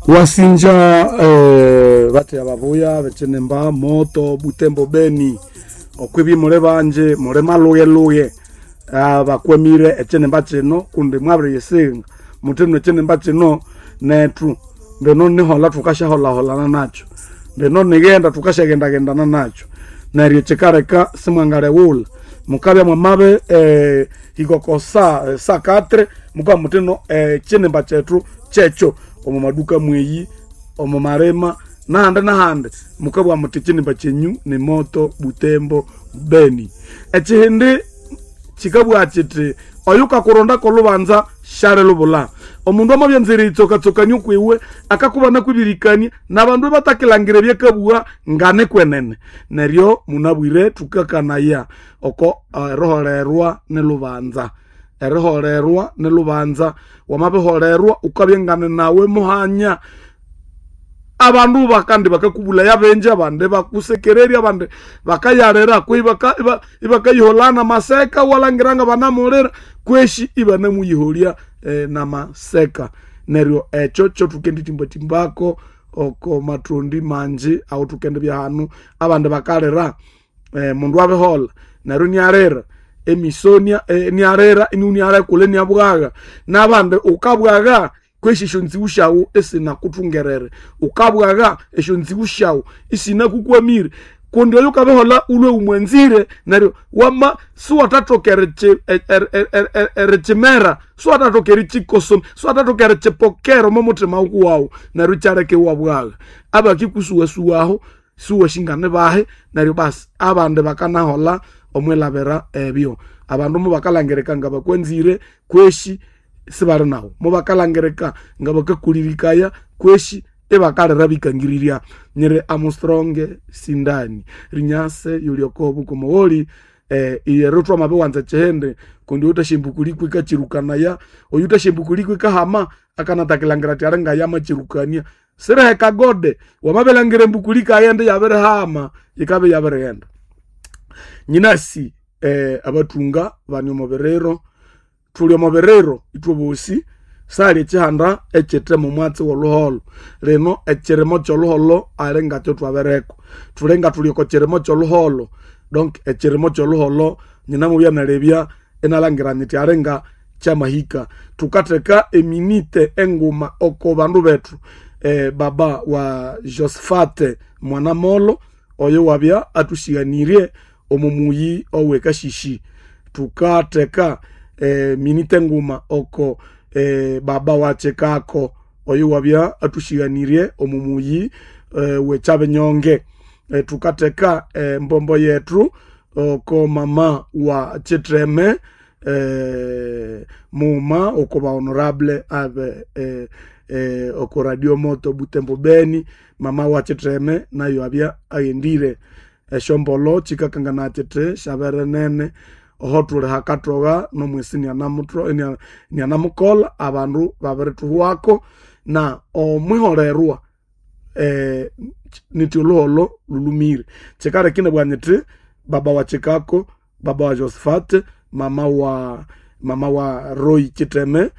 Wasinja bateya babuya bechinemba Moto Butembo Beni okwibi muli banje muli malughe-lughe bakwamire echinemba kino kundi mwabiriyisinga muthinu echinemba kino nethu mbino nihola thukasyaholhaholana nakyo, mbino nighenda thukasyagendagendana nakyo. Neryo kyikaleka simwangaleghulha mukabya mwamabi hika oko saa katri mukabugha muthino ekyinimba kyethu kyekyo omo maduka mweyi, omo malima nahandi nahandi mukabugha muthi ekyinimba kyenyu ni Moto Butembo Beni. Ekyihindi kyikabugha kyithi oyukakurondako olhubanza syalilubulha. Omundu amabya eriyitsokatsokania okwiwe akakubana kwibirikania nabandu ibatakilhangira ebyakabugha nganikwenene. Neryo munabwire thukakanaya oko eriholerwa nilhubanza, eriholerwa nilhubanza. Wamabiholerwa wukabya ngane nawe muhanya. Abandu bakandi bakakubulaya bingi, abandi bakusekererya, abandi bakayalira kwehi ibakayiholana namaseka iwalhangira ngabanamulira kweshi ibanamuyiholya namaseka. Neryo ekyo kyothukendithimbathimba oko mathondi mangi awuthukendibya hanu. Abandi bakalira mundu abiholha neryo inialira emisonia inialira inialekula iniabwagha. Nabandi wukabwagha kweshi esyonziwu syawu isinakuthungerere, wukabwagha esyonziwu syawu isinakukwamire kundi oyukabiholha wulhwe wumwanzire neryo wama siwathathoka erikyimera, siwathathoka erikyikosomya, siwathathoka erikyipokera omo muthima wukuwawu neryo ikyaleka iwabwagha. Abakikusuwasuwaho siwasi nibahi neryo basi abandi bakanaholha omwilhabira ebyo. Abandu mubakalhangirika ngabakwanzire kweshi sibali nawu, mubakalhangirika ngabakakulirikaya kweshi ibakalira bikangirirya. Nyiri Armstrong Sindani rinyase yuli oko bukomogholi iyero thwamabiwanza ekyihindi kundi oyuthasyambukulikwa ikakyirukanaya, oyuthasyambukulikwa ikahama akanatakilhangira athi alinga yamakyirukania. Siriheka gode, wamabilhangira embukuli yikaghenda iyabirihama yikabya iyabirighenda. Nyinasi abathunga bane omo biriro, thuli omo biriro ithwebosi sali ekyihanda ekyithe momwatsi wolhuholho. Lino ekyirimo kyolhuholho alingakyo thwabirikwa. Thuli nga thuli oko kirimo kyolhuholho donc ekyirimo kyolhuholho nyinamubya nalebya inalhangira nyithi alinga kyamahika. Thukatheka eminite enguma oko bandu bethu baba wa Josephat Mwanamolo oyo wabya athusighanirye omo muyi owe Kashishi. Thukatheka minite enguma oko baba wa Kyikako oyo wabya athusighanirye omo muyi we Kyabinyonge. Thukatheka embombo yethu oko mama wa Kyitheme muma oko ba honorable abe oko Radio Moto Butembo Beni mama wa Kyitheme nayo abya aghendire. Esyombolo kyikakanganaya kyithi syabere nene oho thuli hakatogha nomwisi inianamukolha abandu babirithuhwako na omwiholerwa nithi olhuholho lhulhumire. Kyikaleka inabugha nyithi baba wa Kyikako, baba wa Josephat, mama wa Roy Kyitheme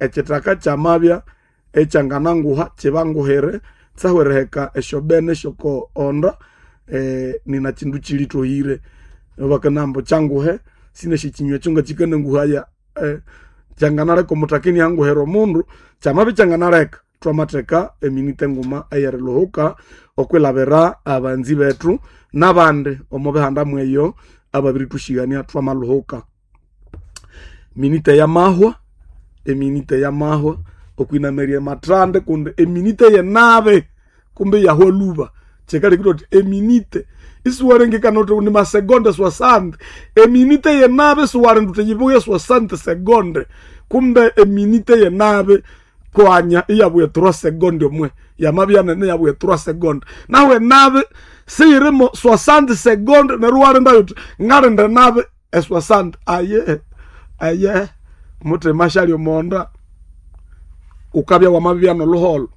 ekyithaka kyamabya ekyangananguha kyibanguhire tsahu eriheka esyobene syoko onda nina kyindu kyilithohire. Bakanamba kyanguhe sinasi ekyinywa ekyo ngakyikananguhaya kyanganaleka omuthaka inianguhira omundu kyamabya ikyanganaleka thwamatheka eminite enguma eyeriluhuka okwilhabira abanzi bethu nabandi omo bihanda mweyo ababirithusighania thwamaluhuka. Minite yamahwa, eminite yamahwa okwinamirya emathande kundi eminite yenabi kumbe iyahwa lhuba. Kyikalekire wuthi eminite isiwalengekana wuthi ni masegonde soixante, eminite yenabi isiwalinda wuthi yibuye soixante segonde kumbe eminite yenabi kwanya iyabuya trois segonde omwe yamabya nene iyabuya trois segonde. Nahu enabi siyirimo soixante segonde neryo iwalinda wuthi ngalinda enabi e soixante aye aye muthima syali omonda wukabya wamabya nolhuholho.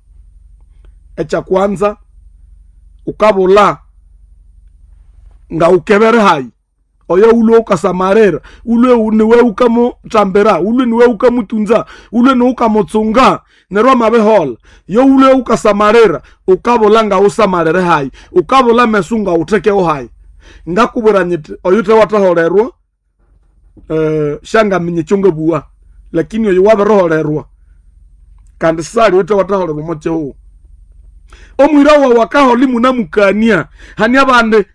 Ekyakwanza wukabulha ngawukebere hayi. Oyo ulwe ukasamarira, ulwe niwe ukamutambira, ulwe niwe ukamutunza, ulwe niwe ukamutsunga, neryo amabihola. Yo ulwe ukasamarira, ukabula nga usamarire hayi, ukabula mesu nga uthekeho hayi. Ngakubwira nyiti oyu wathaholerwa shangaminya ekyo ngabuwa, lakini oyo wabiriholerwa kandi sali oyuthe wathaholerwa omo kihugho. Omwira wawu akahola imunamukania, hani abandi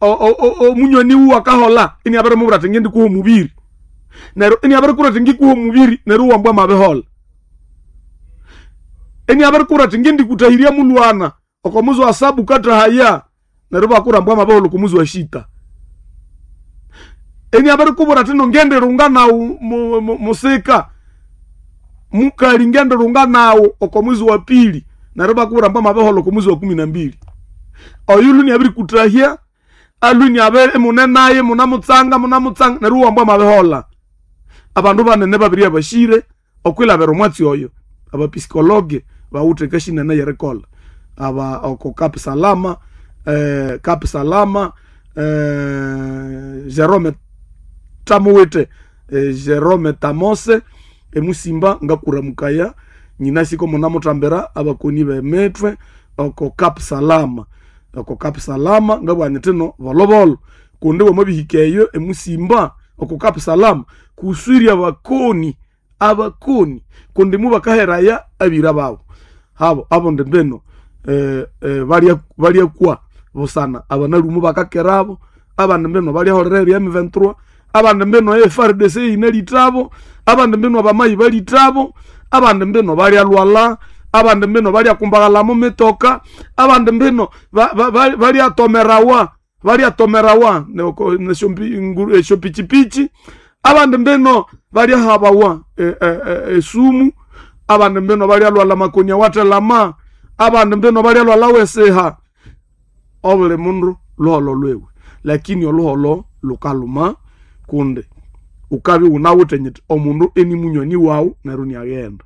omunywani wuwu akahola iniabirimubwira athi ngindikuha omubiri, neryo iniabirikubwira athi ngikuha omubiri, neryo iwambwa amabihola. Iniabirikubwira athi ngindikutahirya mulwana oko muzi wa sabu kathahaya, neryo ibakubwira ambu amabihola oko muzi wa shita. Iniabirikubwira athi no ngendirunga nawu musika mukali, ngendirunga nawu oko muzi wa pili, neryo ibakubwira ambu amabihola oko muzi wa 12. Oyu niabirikutahya alwi niabere munenaye munamutsanga munamutsanga, neryo iwambwa amabihola. Abandu banene babiri abashire okwilabira omwatsi oyo, abapisikologe bawithe kashinene yerikolha aba oko Cap Salama, Cap Salama, Jerome Tamuwite, Jerome Tamose emusimba ngakuramukaya nyinasiko munamuthambira abakoni b'emitwe oko Cap Salama, oko Cap Salama ngabugha nyithi no bolobolo kundi wamabihika eyo emusimba oko Cap Salama kuswirya abakoni, abakoni kundi mubakaheraya abira babo habo abondi mbino balyakwa busana abanalumu bakakerabo, abandi mbino balyaholera erya M23, abandi mbino FARDC yinalithabo, abandi mbino abamayi balithabo, abandi mbino balyalwala, abandi mbino balyakumbaghala mu mitoka, abandi mbino balyatomerawa, balyatomerawa esyopichipichi, abandi mbino balyahabawa esumu, abandi mbino balyalwala makonia wathelama, abandi mbino balyalwala wesiha. Obuli mundu luholo lwiwe, lakini oluholo lukaluma kundi ukabya iwunawithe nyiti omundu eni munywani wawu neryo iniaghenda.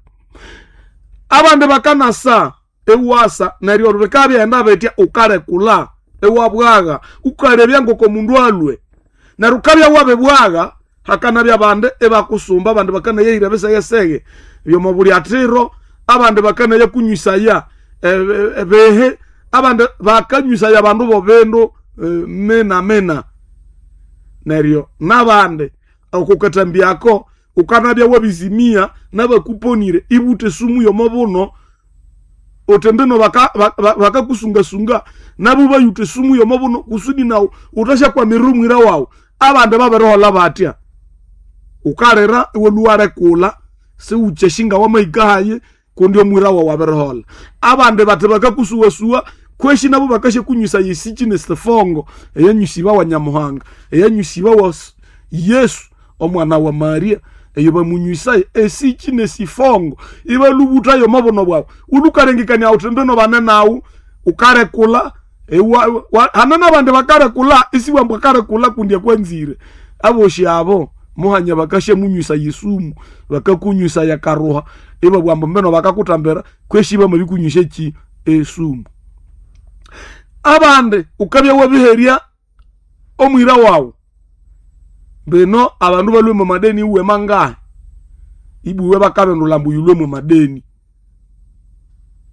Abandi bakanasa iwasa neryo bikabyaghenda bitya ukalekula iwabwagha ukalebya ngoko mundu alwe, neryo ukabya wabibwagha hakanabya abandi ibakusumba, abandi bakanayahira ebisegesege byomobulyathiro, abandi bakanaya kunywisa ebihi, abandi bakanywisa abandu bobindu mina mina. Neryo nabandi okukathambyako ukanabya wabizimia nabakuponire ibuthe esumu yomobuno uthi mbino bakakusungasunga nabo bayutha esumu yomobuno kusudi nawu uthasyakwamira omwira wawu. Abandi babiriholha batya, ukalira iwalhuwarekula siwukyashinga wamahika hayi kundi omwira wawu abiriholha. Abandi bathi bakakusuwasuwa kweshi nabo bakasyakunywisa yesichi nesifongo eyanywisibawa Nyamuhanga, eyanywisibawa Yesu omwana wa Maria, eyo bamunywisayo esichi nesifongo ibalubuthayo omobuno bwawu. Ulhukalengekania wuthi mbino bane nawu ukarekula hane nabandi bakarekula isiwambwa akarekula kundi akwanzire. Abosi abo muhanya bakasyamunywisa yesumu, bakakunywisa yakaruha, ibabugha ambu mbino bakakuthambira kweshi bamabikunywisya eki esumu. Abandi ukabya wabiherya omwira wawu, mbino abandu balhwe mwa madeni iwe mangahi, ibuwe bakabindulha ambu yilhwe mwa madeni,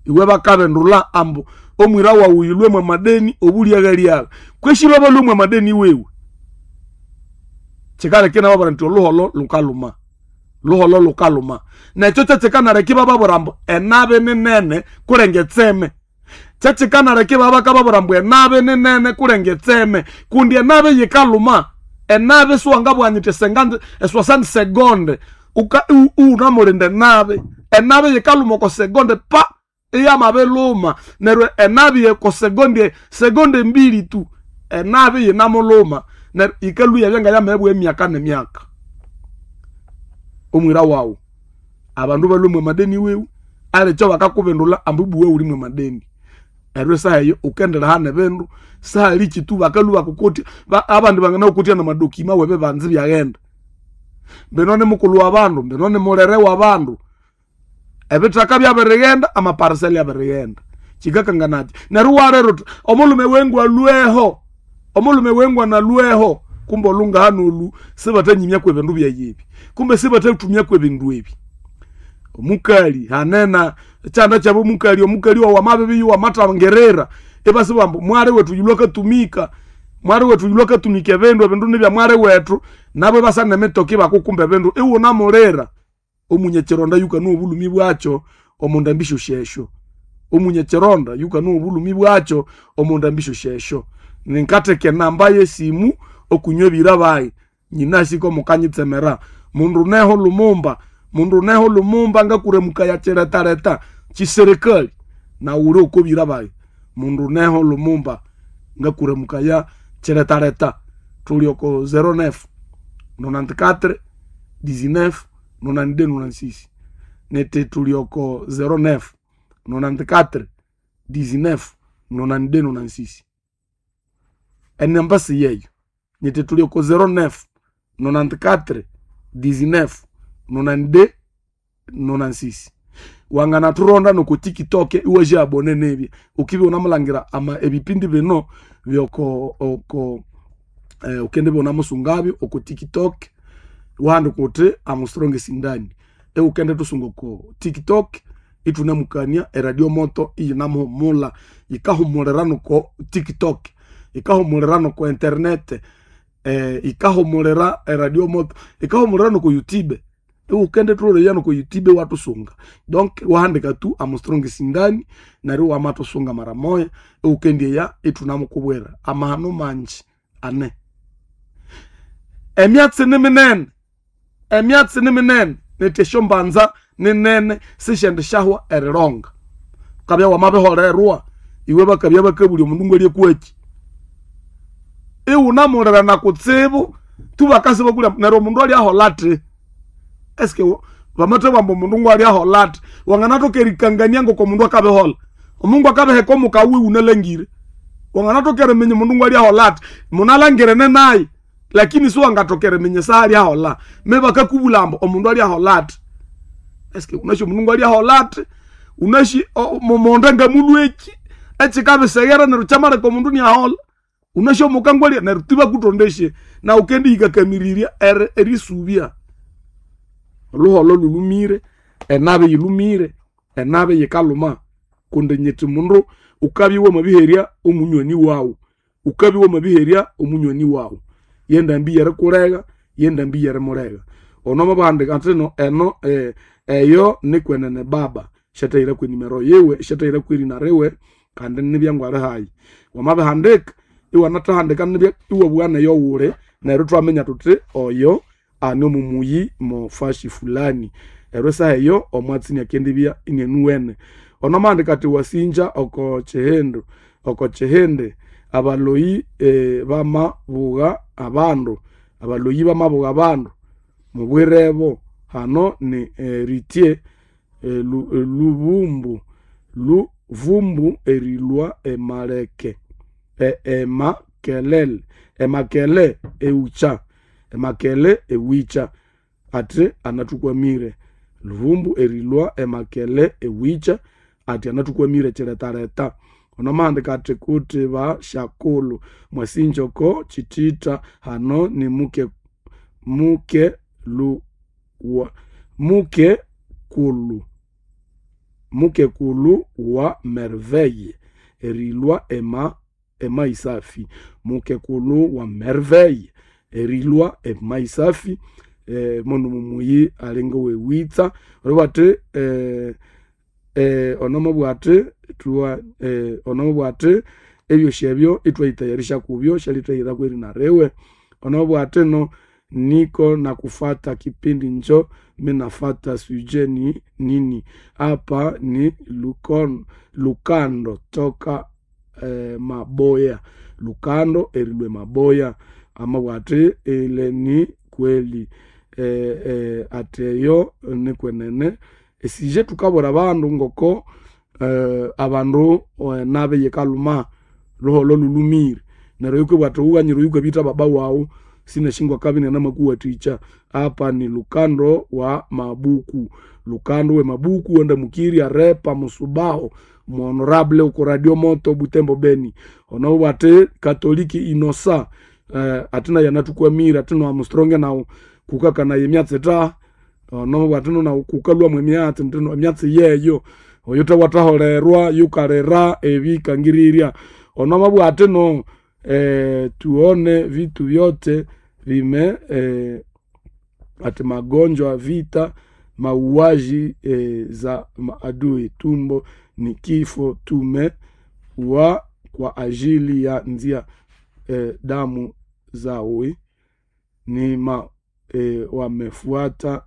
iwe bakabindulha ambu omwira wawu yilhwe mwa madeni obulyaghalyagha, kweshi babalhwe mwa madeni wewe. Kyikaleka inababwira nti oluholo lukaluma, luholo lukaluma. Nekyo kyekyikanaleka ibababwira ambu enabi ninene kulenga etseme. Kyekyikanaleka ibabakababwira ambu enabi ninene kulenga etseme, kundi enabi yikaluma. Enabi siwangabugha nyiti eswasani segonde unamulinda enabi. Enabi yikaluma oko segonde pa iyamabiluma, neryo enabi eko segonde, segonde mbili tu enabi yinamuluma, neryo yikalhwa iyabya ngayamabibugha emyaka nemyaka. Omwira wawu abandu balhwe mwa madeni wewe alikyo bakakubindulha ambu ibuwe wuli mwa madeni. Neryo esaha eyo wukendireha nebindu sihali kitu bakalhwa bakukutya, abandi banganakukutya namadokima webibanza ibyaghenda. Mbino ni mukulhu wabandu, mbino ni mulere wabandu, ebithaka byabirighenda, amapariseli abirighenda. Kyikakanganakyi? Neryo iwalera uthi omulhume wengu alhweho, omulhume wengu analhweho, Kumbe olungahano olu sibatanyimya kwebindu byayebi, kumbe sibatatumya kwebindu ebi. Omukali hanena chanda chabo omukali, omukali wawu amabibi wamatangerera ebasi bambu mwari wetu yulwa katumika, mwari wetu yulwa katumika ebindu, ebindu nibya mwari wetu, nabo basa nemitoki bakukumba ebindu iwunamulira. Omunyechironda yukanu obulumi bwacho omunda mbisho shesho, omunyechironda yukanu obulumi bwacho omunda mbisho shesho. Ninkateke namba yesimu okunywa ebira bayi nyinasiko mukanyitsemera mundu neho Lumumba, mundu neho Lumumba ngakuremuka ya chiretareta chiserikali na uli okobira bayi mundu neho Lumumba ngakuremuka ya chiretareta. Tuli oko 09 94 19 92 96 nete tuli oko 09 94 19 92 96 enamba siyeyo nete tuli oko 09 94 19 92 96 wangana turonda noko TikTok iwaje abone nebye ukibe unamulangira ama ebipindi bino byoko oko ukende bona musungabyo oko TikTok wandi kuti amustrong sindani eukende tusunga oko TikTok itunamukania eradio moto iyinamuhumula ikahumulira noko TikTok ikahumulira noko internet ikahumulira eradio moto ikahumulira noko YouTube ukende tuloleya noko YouTube watusunga. Donc wahandika tu amustrong sindani nari wamatusunga mara moya ukendieya itunamukubwera amahano manji ane emyatsi ni minene, emyatsi ni minene netesho mbanza ninene sishende shahwa erilonga ukabya wamabiholerwa iwe bakabya bakabulya omundu ngwalye kweki iwunamulira na kutsibu tu bakasi bakulya neryo omundu alyahola ati eske bamathe bamba omundu ngwalyahola ati wanganathoka erikangania ngoko omundu akabihola omundu akabiheka omukawi wunalangire wanganathoka eriminya omundu ngwalyahola ati munalangirene naye lakini siwangathoka eriminya saalyahola me bakakubula ambu omundu alyahola ati eske unashi omundu ngwalyahola ati unashi mumonde ngamulweki ekikabiseghera neryo kyamaleka omundu niahola unashi omukangwalya neryo tibakutondesye na ukendihikakamirirya erisubya oluholo lulumire enabe yilumire enabe yikaluma kundi nyiti mundu ukabya wamabiherya omunywani wawu, ukabya wamabiherya omunywani wawu yendambi yerikulega yendambi yerimulega ono mabahandika atino eno eyo nikwenene baba shatahira kwenimero yiwe shatahira kwerina riwe kandi nibyangwali hayi wamabihandika iwanathahandika nibya iwabugha neyo wuli neryo thwaminya thuthi oyo ani omumuyi mofashi fulani eryo esaha eyo omwatsi niakendibya inienuwene. Ono mahandika athi wasinja oko chihindu oko chihindi abaloyi bamabugha abandu abaloyi bamabugha abandu mubwirebo hano ni ritie lubumbu luvumbu erilwa emaleke emakelele emakele eucha emakele ewicha ati anathukwamire luvumbu erilwa emakele ewicha ati anathukwamire chiretareta. Ono mahandika ati kuti ba shakulu mwasinjoko chitita hano ni muke muke lu wa muke kulu muke kulu wa merveille erilwa ema emaisafi muke kulu wa merveille erilwa emaisafi mono mumuyi alinga wewitsa olubati onomobwati tuwa onomobwati ebyosi ebyo itwaitayarisha kubyo shalitaira kweri narewe onomobwati no niko na kufata kipindi njo minafata suje ni nini hapa ni lukon, lukando toka maboya lukando erilwe maboya amabwati ile ni kweli ateyo nikwenene esije tukabura bandu ngoko abandu nabe yekaluma luholo lulumire neryo yukwe bwati ughanyira yukwe bita baba wawu sinashingwa kabini na makuwa ticha hapa ni lukando wa mabuku lukando we mabuku wenda mukiri arepa musubaho muhonorable uko radio moto Butembo Beni ono bwati katoliki inosa Ati naye anathukwamire ati no Armstrong nawu kukakanaye emyatsi ta ono ati no nawu kukalwamu emyatsi ntino emyatsi yeyo oyo tawathaholerwa yukalira ebikangirirya ono amabugha ati no tuone vitu vyote vime ati magonjwa, vita, mauaji za maadui, tumbo ni kifo, tume wa kwa ajili ya nzia damu zawe ni ma wamefuata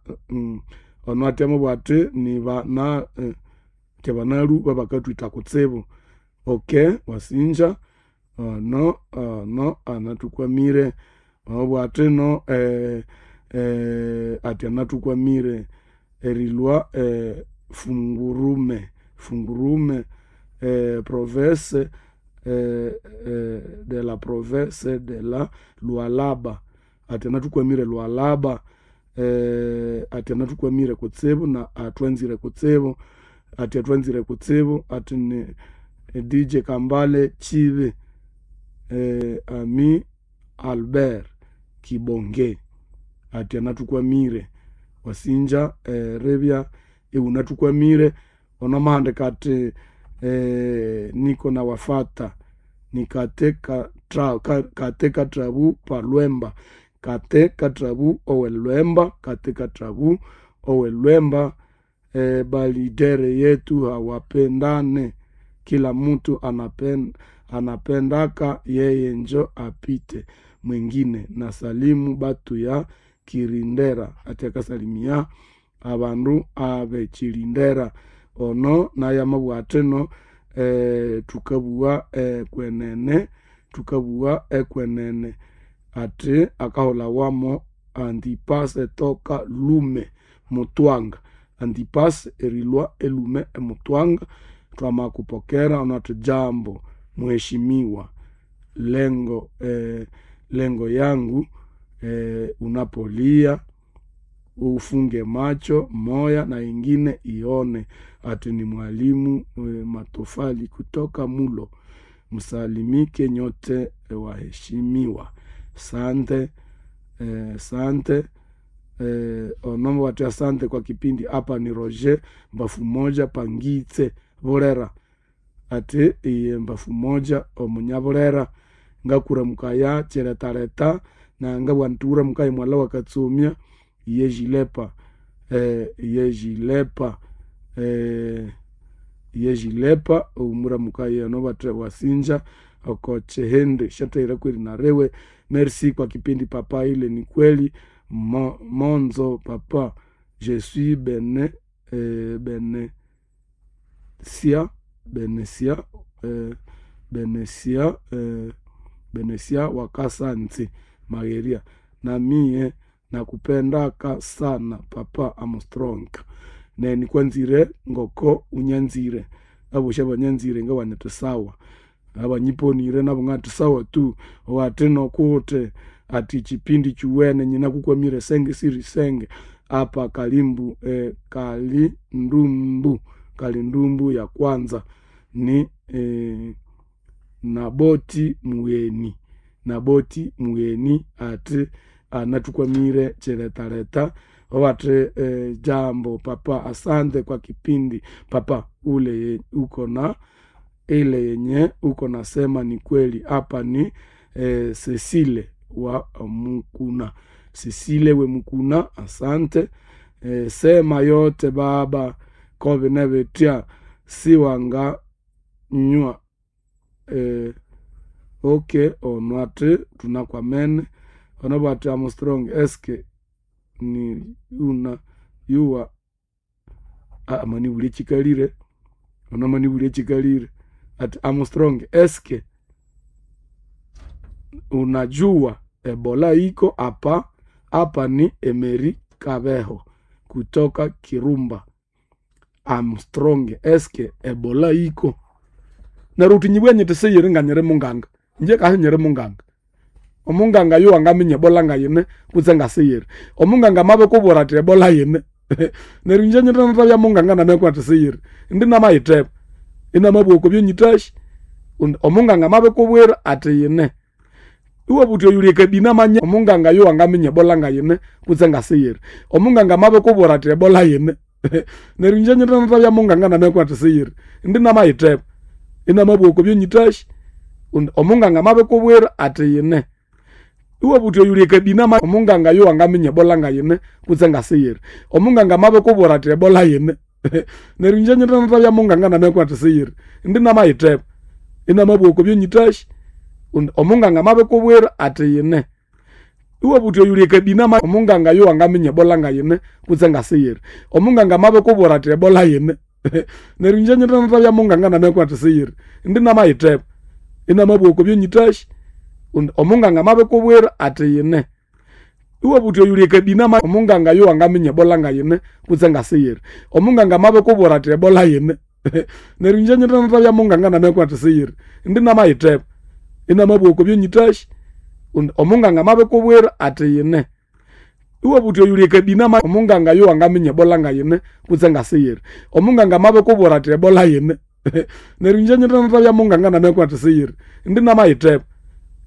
ono ati amabugha ati ni bana tebanalu babakatwitha kutsibu. Okay, wasinja ono ono anathukwamire amabugha ati no ati anathukwamire erilwa fungurume fungurume province de la province de la Lualaba ati anathukwamire Lualaba ati anathukwamire kutsibu na athwanzire kutsibu ati athwanzire kutsibu ati ni DJ Kambale Chibi ami Albert Kibonge ati anathukwamire wasinja ribya iwunathukwamire ono amahandika ati niko nawafata nikate kate katrabu palwemba kate katrabu owelwemba kate katrabu owelwemba balidere yetu hawapendane kila mtu anapendaka yeye njo apite mwingine na salimu batu ya Kirindera ati akasalimia abandu abekirindera ono naye amabugha ati no thukabugha kwenene thukabugha ekwenene ati akaholawamo Antipasi toka Lume Mutwanga Antipasi erilwa elume emutwanga twamakupokera ono ati jambo mheshimiwa lengo lengo yangu unapolia ufunge macho moya na ingine ione ati ni mwalimu Matofali kutoka Mulo msalimike nyote waheshimiwa sante sante onombo wati asante kwa kipindi hapa ni Roger mbafu moja pangitse Bulera ati iye mbafu moja omunyabulera ngakuramukaya chiretareta na ngabugha nti wuramukaye mwala wakatsumya iye jilepa iye jilepa iye jilepa omuramukaye ono bathe wasinja oko chihindi shathaira kweri nariwe merci kwa kipindi papa ile ni kweli monzo papa je suis bene benesia benesia benesia benesia wakasanzi magheria na mie nakupendaka sana papa Armstrong ne nikwanzire ngoko unyanzire abosha abanyanzire ngabanete sawa abanyiponire nabo ngati sawa tu wati nokute ati chipindi chuwene nyina kukwamire senge siri senge apa kalimbu kalindumbu kalindumbu ya kwanza ni Naboti Mugheni Naboti Mugheni ati anathukwamire chiretareta wati jambo papa asante kwa kipindi papa ule uko na ile yenye uko nasema ni kweli hapa ni Cecile wa Mukuna Cecile we Mukuna asante sema yote baba kobe nebetia siwanga nywa okay ono ati tunakwamene ono bwati Armstrong eske ni una yuwa amani chikalire ono mani chikalire ati Armstrong eske unajua Ebola iko hapa hapa ni Emery Kabeho kutoka Kirumba Armstrong eske Ebola iko neryo uthi nyibwe nyiti siyiri nga nyiri munganga inje kasi nyiri munganga omunganga yo angaminya Ebola ngayine kutse ngasiyiri omunganga mabikubwira athi Ebola yine neryo inje nyithenathabya munganga namekwa athi siyiri indi namayitheba inamabugha okwa byonyithashi omunganga mabikubwira athi yine. Iwabuthi oyuli ekabina amanye omunganga yo angaminya ebola ngayine kutse ngasiyiri. Omunganga amabikubwira athi ebola yine. Neryo inje nyithenathabya munganga namabya athi siyiri. Indi namayitheba. Inamabugha okwa byonyithasi kundi omunganga amabikubwira athi yine. Iwabuthi oyuli ekabina omunganga yo angaminya ebola ngayine kutse ngasiyiri. Omunganga amabikubwira athi ebola yine. Neryo inje nyithenathabya munganga namabya athi siyiri. Indi namayitheba. Inamabugha okwa byonyithasi kundi omunganga amabikubwira athi yine. Iwabuthi oyuli ekabina omunganga yo angaminya ebola ngayine kutse ngasiyiri. Omunganga amabikubwira athi ebola yine. Neryo inje nyithenathabya munganga namabya athi siyiri. Indi namayitheba. Inamabugha okwa byonyithasi kundi omunganga amabikubwira athi yine. Iwabuthi oyuli ekabina omunganga yo angaminya ebola ngayine kutse ngasiyiri. Omunganga amabikubwira athi ebola yine. Neryo inje nyithenathabya munganga namabya athi siyiri. Indi namayitheba. Inamabugha okwa byonyithasi kundi omunganga amabikubwira athi yine. Iwabuthi oyuli ekabina omunganga yo angaminya ebola ngayine kutse ngasiyiri. Omunganga amabikubwira athi ebola yine. Neryo inje nyithenathabya munganga namabya athi siyiri. Indi namayitheba.